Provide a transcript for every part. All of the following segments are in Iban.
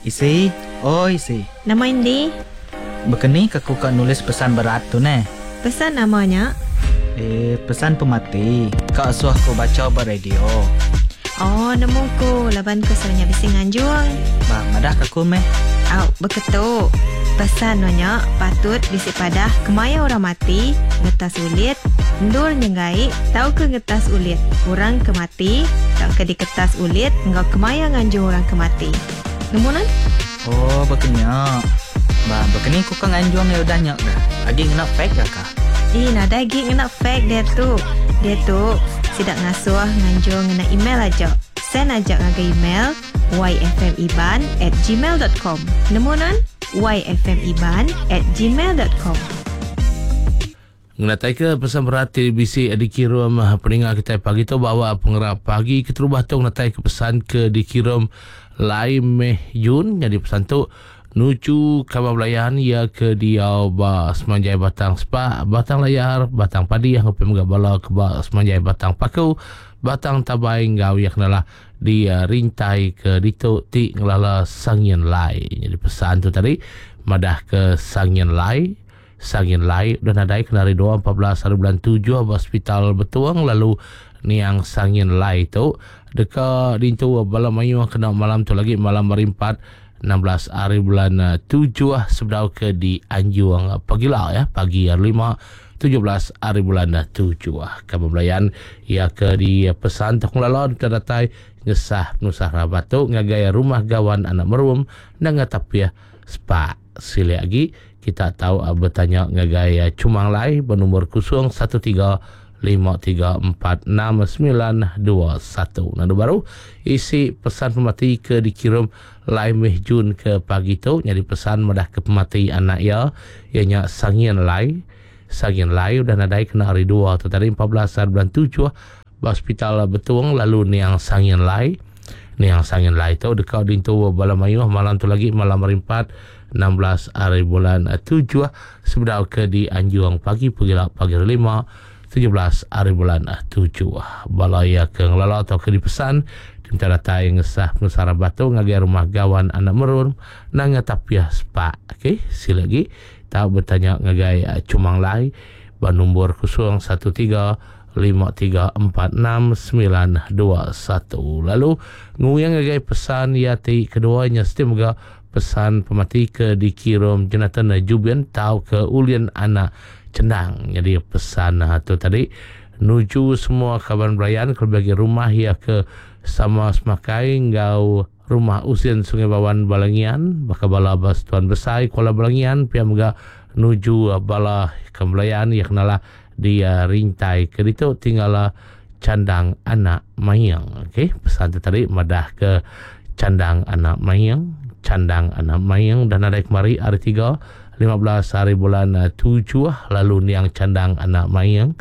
Isi, oi isi. Nama indi? Bekeni ke ku ka nulis pesan berat tu neh. Pesan nama nya? Eh, pesan pemati ka asuh ku bacha ba radio. Oh, nemu ku laban ku selalu nya bisi nganjung. Bah, madah ka ku meh. Au, beketu. Pesan nuan nya patut bisi padah kemaya orang mati, ngetas ulit, endur nyenggai tauka ngetas ulit orang ke mati tauka diketas ulit enggau kemaya nganjung orang ke mati. Nemu nuan? Oh, baka nya. Ba, baka ni ku ka nganjung iya udah nya ga. Agi ngena fax ga ka? Ih, nadai agi ngena fax diatu. Diatu, sida ngasuh nganjung ngena email aja. Send aja ngagai email yfmiban at gmail dot com. Nemu nuan? yfmiban at gmail dot com. Ngenataika pesan berat ti bisi dikirum peninga kitai pagi tu ba awak pengerap pagi keterubah tu ngenataika pesan ke dikirum Lai Meh Yun nyadi pesan tu nuju kaban belayan iya ke diau ba semanjai Batang Spak, Batang Layar, Batang Padih enggau pia mega bala ke ba semanjai Batang Paku, Batang Tabai enggau iya ke nalah di rintai ke ditu ti ngelala Sangin Lai. Nyadi pesan tu tadi madah ke Sangin Lai, Sangin Lai udah nadai kena hari dua 14 hari bulan tujuh ba Hospital Betong lalu niang Sangin Lai tu deka dintu bala mayuh kena malam tu lagi malam hari empat 16 hari bulan tujuh sebedau ke dianjung pagila ya pagi hari lima 17 hari bulan tujuh. Kaban belayan iya ke dipesan Tokong Lala deka datai ngesah penusah rabat tu ngagai rumah gawan anak merum nanga tapih sepak. Silik agi kita tau betanya ngagai Chumang Lai benombor 013 5346921. Nandu baru isi pesan pemati ke dikirum Lai Meh Jun ke pagi tu nyadi pesan madah ke pemati anak iya iya nya Sangin Lai. Sangin Lai udah nadai kena hari dua tu tadi 14 hari bulan 7 ba Hospital Betong lalu niang Sangin Lai. Niang Sangin Lai tu deka dintu bala mayuh malam tu lagi malam hari 4 16 hari bulan 7 sebedau ke dianjung pagi pegila pagi hari 5 17 hari bulan 7. Bala iya ke ngelala atau ke dipesan diminta datai ngesah penusah rabat tu ngagai rumah gawan anak merun nanga tapiah sepak. Okey, sila lagi tau betanya ngagai Chumang Lai ba nombor 013 5346921. Lalu nguyang ngagai pesan iya ti kedua nya siti mega pesan pemati ke dikirum Jonathan Jubin tau ke Ulin anak Chendang. Jadi pesan tu tadi nuju semua kaban belayan kelebih agi rumah iya ke sama semakai enggau rumah Usin Sungai Bawan Balangian baka bala ba Setuan Besai Kuala Balangian pia mega nuju bala kaban belayan iya kenalah di rintai ke ditu tinggal Chandang anak Maing. Okey, pesan tu tadi madah ke Chandang anak Maing, Chandang anak Maing dah nadai kemari hari 3 15 hari bulan 7 lalu niang Chandang anak Maing.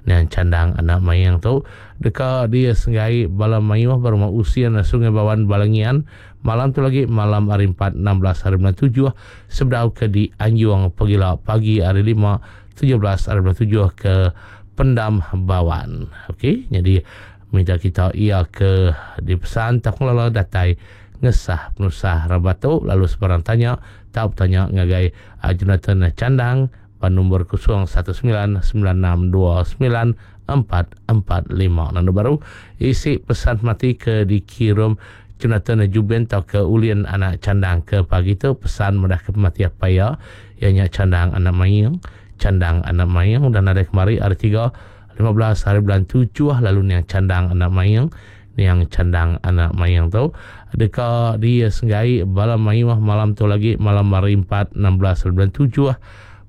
Niang Chandang anak Maing tu deka disenggai bala mayuh ba rumah Usin Sungai Bawan Balangian malam tu lagi malam hari 4 16 hari bulan 7 sebedau ke dianjung pegila pagi hari 5 17 hari bulan 7 ke Pendam Bawan. Okey, jadi minta kita ia ke dipesan tak lalu datai ngesah penusah rabat tu lalu sebarang tanya tau betanya ngagai Jonathan Chandang ba nombor 0199629445. Nanda baru isi pesan mati ke dikirum Jonathan Jubin tau ke Ulin anak Chandang ke pagi tu pesan madah ke pemati apai iya iya nya Chandang anak Maing. Chandang anak Maing udah nadai kemari hari 3 15 hari bulan 7 lalu niang Chandang anak Maing niang Chandang anak Maing tu deka disenggai bala mayuh malam tu lagi malam hari 4 16 hari bulan 7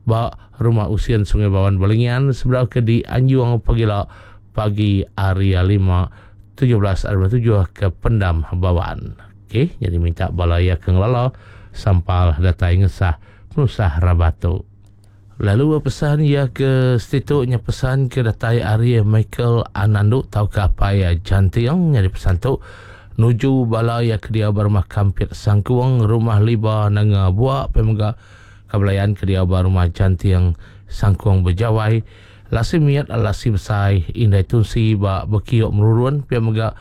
ba Rumah Usin Sungai Bawan Balingian sebedau ke dianjung pagila pagi hari 5 17 hari bulan 7 ke Pendam Bawan. Okey, jadi minta bala iya ke ngelala sampal datai ngesah penusah rabat tu. Lalu pesan iya ke setitu nya pesan ke datai ari Michael Anandu tauka apai Janting nyadi pesan tu nuju bala iya ke diau ba rumah Kampit Sangkung, Rumah Liba Nanga Bua pia mega ka belayan ke diau ba rumah Janting Sangkung Bejawai, Lasi Mit Lasi Besai, Indai Tunsi ba Bekiok Merurun pia mega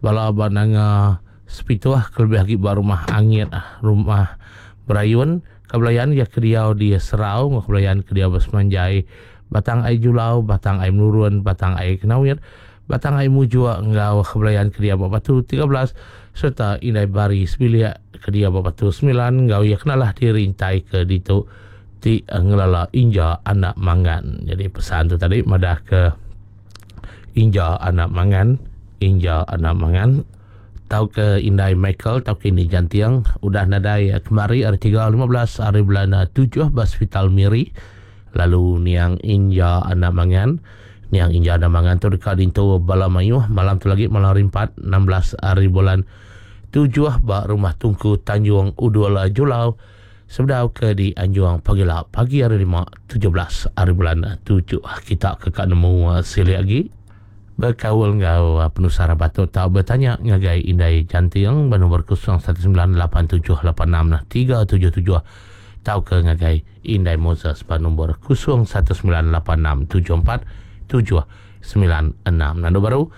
bala ba Nanga. Sepituh kelebih agi ba Rumah Angit, Rumah Berayun, Kebelayan iya ke diau di Serau enggau Kebelayan ke diau ba Semanjai, Batang Ai Julau, Batang Ai Menurun, Batang Ai Kenawit, Batang Ai Mujuk enggau Kebelayan ke diau ba Batu 13 sereta Indai Bari sebilik ke diau ba Batu semilan enggau iya ke nalah dirintai ke ditu ti ngelala Inja Anak Mangan. Jadi pesan tu tadi madah ke Inja Anak Mangan, Inja Anak Mangan tauka Indai Michael tauka Ini Janting udah nadai kemari hari 3 15 hari bulan 7 ba Hospital Miri lalu niang Inja Anak Mangan niang Inja Anak Mangan tu deka dintu bala mayuh malam tu lagi malam hari 4 16 hari bulan 7 ba Rumah Tungku Tanjung Udul Julau sebedau ke di Anjuang pagila pagi hari 5 17 hari bulan 7 kita ke ka nemu silik agi Bekaul enggau penusah rabat tu tau betanya ngagai Indai Janting ba nombor 0198786377 tauka ngagai Indai Moses ba nombor 0198674796. Nandu baru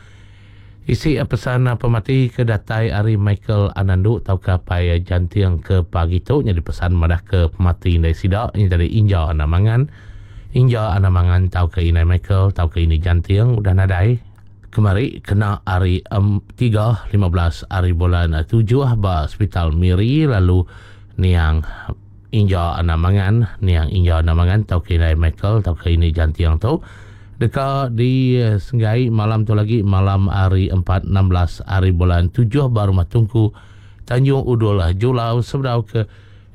isi pesan pemati ke datai ari Michael Anandu tauka Apai Janting ke pagi tu nyadi pesan madah ke pemati indai sida nya tadi Inja Anak Mangan. Inja Anak Mangan tauka Indai Michael tauka Ini Janting udah nadai kemari kena hari 3 15 hari bulan 7 ba Sepital Miri lalu niang Inja Anak Mangan niang Inja Anak Mangan tauka Indai Michael tauka Ini Janting tu deka disenggai malam tu lagi malam hari 4 16 hari bulan 7 ba Rumah Tungku Tanjung Udul Julau sebedau ke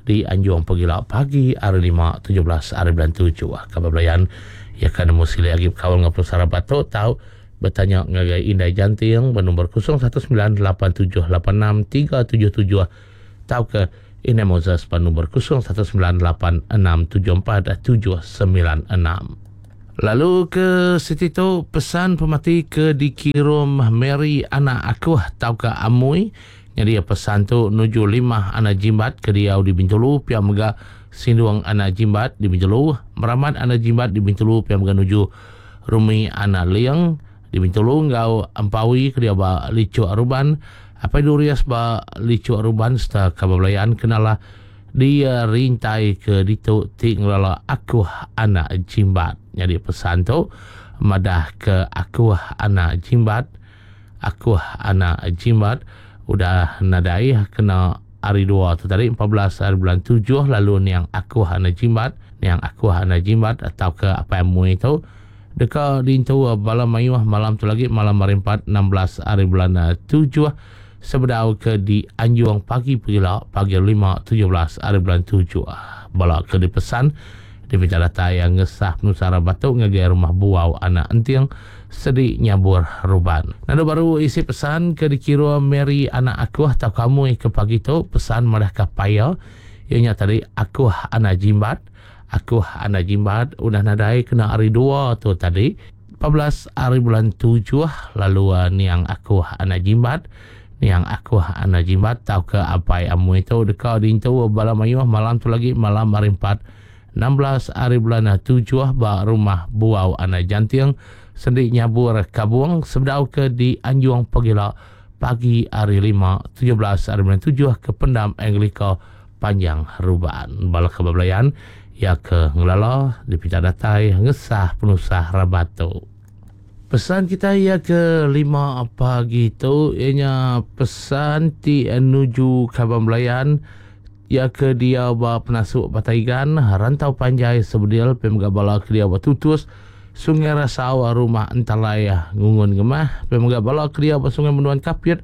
Di Anjung pegila pagi hari lima 17 hari bulan 7. Kaban belayan iya ka nemu silik agi bekaul enggau penusah rabat tu tau betanya ngagai Indai Janting ba nombor 0198786377 tauka Indai Moses ba nombor 0198674796. Lalu ke siti tu pesan pemati ke dikirum Mary anak Akuh tauka Amui Nyadi pesan tu nuju limah anak jimbat ke diau di Bintulu pia mega Sindung anak jimbat di Bintulu, Meramat anak jimbat di Bintulu pia mega nuju Rumi anak Ling di Bintulu enggau Empawi ke diau ba Lichuk Ruban, Apai Durius ba Lichuk Ruban sereta kaban belayan ke nalah di rintai ke ditu ti ngelala Akuh anak jimbat. Nyadi pesan tu madah ke Akuh anak jimbat. Akuh anak Jimat udah nadai kena hari dua tu tadi 14 hari bulan 7 lalu niang Akuh anak Jimat niang Akuh anak Jimat tauka Apai Amui tu deka diintu bala mayuh malam tu lagi malam hari 4 16 hari bulan 7 sebedau ke dianjung pagi pegila pagi 5 17 hari bulan 7 bala ke dipesan dipinta datai ngesah penusah rabat tu ngagai rumah Buau anak Enting Sedi nyabur ruban. Lalu baru isi pesan ke dikirum Mary anak akuh tauka amui ke pagi tu pesan madahka paya iya nya tadi akuh anak jimbat akuh anak jimbat udah nadai kena hari dua tu tadi 14 hari bulan 7 lalu niang akuh anak jimbat niang akuh anak jimbat tauka apai amui tu deka diintu bala mayuh malam tu lagi malam hari 4 16 ari bulan tujuh ba Rumah Buau Anak Janting, Sendi Nyabur Kabong sebedau ke di Anjung pagila pagi hari lima 17 ari bulan tujuh ke Pendam Anglika Panjang Ruban. Bala ke bebelayan iya ke ngelala dipinta datai ngesah penusah rabat tu. Pesan kitai iya ke lima pagi tu iya nya pesan ti nuju kaban belayan iya ke diau ba Penasuk Batang Igan, Rantau Panjai Sebedil pia mega bala ke diau ba Tutus, Sungai Rasau, Rumah Entalai Ngungun Ngemah pia mega bala ke diau ba Sungai Menduan Kapit,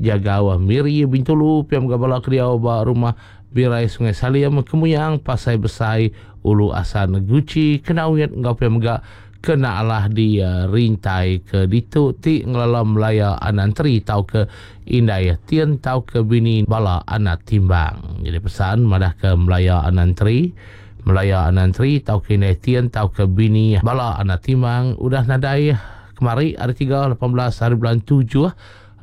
Jagau Miri Bintulu pia mega bala ke diau ba Rumah Birai Sungai Salim, Kemuyang, Pasai Besai, Ulu Asan Guchi, Kenawit enggau pia mega Kena alah di rintai ke ditu ti ngelala Melaya anak enteri tauka indai tin tauka bini bala anak timbang. Jadi pesan madahka Melaya anak enteri, Melaya anak enteri tauka indai tin tauka bini bala anak timbang udah nadai kemari hari tiga 18 hari bulan 7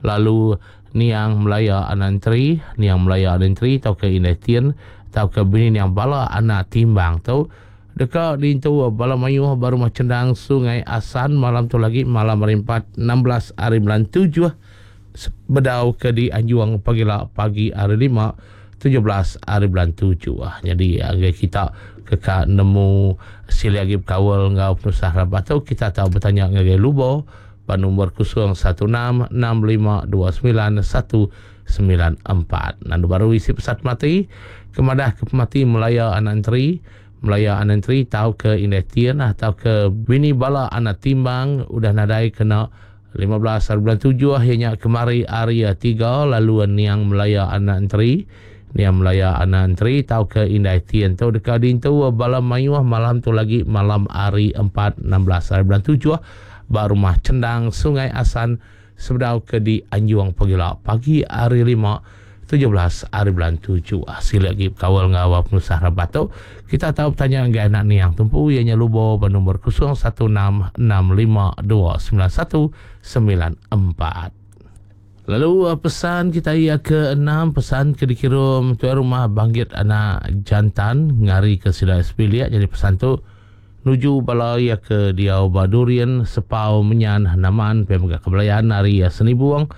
lalu niang Melaya anak enteri, niang Melaya anak enteri tauka indai tin tauka bini niang bala anak timbang tu Deka diintu bala mayuh ba Rumah Chendang Sungai Asan malam tu lagi malam hari empat 16 hari bulan 7. Bedau ke dianjung pagila pagi hari lima 17 hari bulan 7. Jadi ngagai kita ke ka nemu silik agi bekaul enggau penusah rabat tu, kita tau betanya ngagai Lubo ba nombor 016 65 29 194. Nandu baru isi pesat pemati ke madah ke pemati Melaya Anak Enteri, Melaya Anak Enteri tau ke Indai Tien atau ke bini bala anak timbang udah nadai kena 15 hari bulan 7 iya nya kemari hari 3 lalu niang Melaya Anak Enteri, Niang Melaya Anak Enteri tauka Indai Tien tu deka diintu bala mayuh malam tu lagi malam hari 4 16 hari bulan 7 ba Rumah Chendang Sungai Asan sebedau ke dianjung pagila pagi hari 5 17 hari bulan 7. Silik agi bekaul enggau penusah rabat tu, kita tau betanya ngagai anak niang tumpu iya nya Lubo ba nombor 0166529194. Lalu pesan kita iya ke enam pesan ke dikirum tuai rumah Banggit anak Jantan ngari ke sida sebilik jadi pesan tu nuju bala iya ke diau ba Durin, Sepau, Menyan, Naman, pia mega Kebelayan ari Senibung,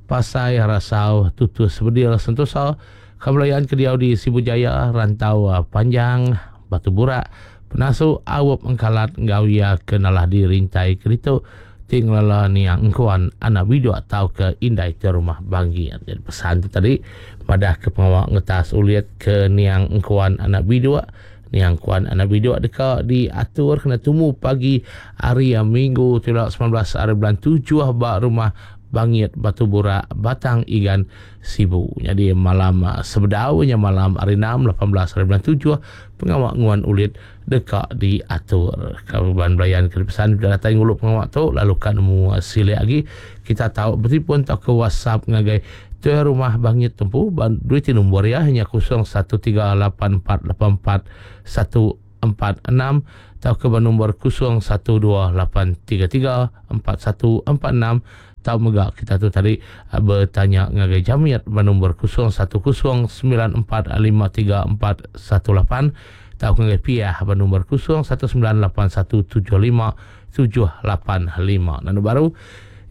Pasai, Rasau, Tutus, Bedil, Sentosa, Kebelayan ke diau di Sibu Jaya, Rantau Panjang, Batu Burak, Penasu, Aup Engkalat enggau iya ke nalah di Rintai ke ditu ti ngelala niang engkuan anak biduk tauka indai ti rumah Banggir. Jadi pesan tu tadi madah ke pengawa ngetas ulit ke niang engkuan anak biduk, niang engkuan anak biduk deka diatur kena tumu pagi hari Minggu tu ila 19 hari bulan 7 ba rumah Bangit Batu Burak Batang Igan Sibu. Jadi malam sebedau nya malam hari 6 18 hari bulan 7 pengawa nguan ulit deka diatur. Kaban belayan ke dipesan udah datai ngulu pengawa tu lalu ka nemu silik agi kita tau betipun tauka WhatsApp ngagai tuai rumah Bangit tempu ba duit ti nombor iya nya 0138484146 tauka ba nombor 0128334146 tau mega kita tu tadi betanya ngagai Jamit ba nombor 0109453418 tau ngagai Piah ba nombor 0198175785. Lalu baru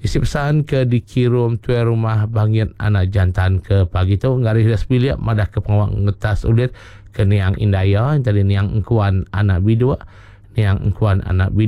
isi pesan ke dikirum tuai rumah Bangit anak jantan ke pagi tu ngari sida sebilik madah ke pengawa ngetas ulit ke niang indai iya tadi niang engkuan anak biduk, niang engkuan anak biduk.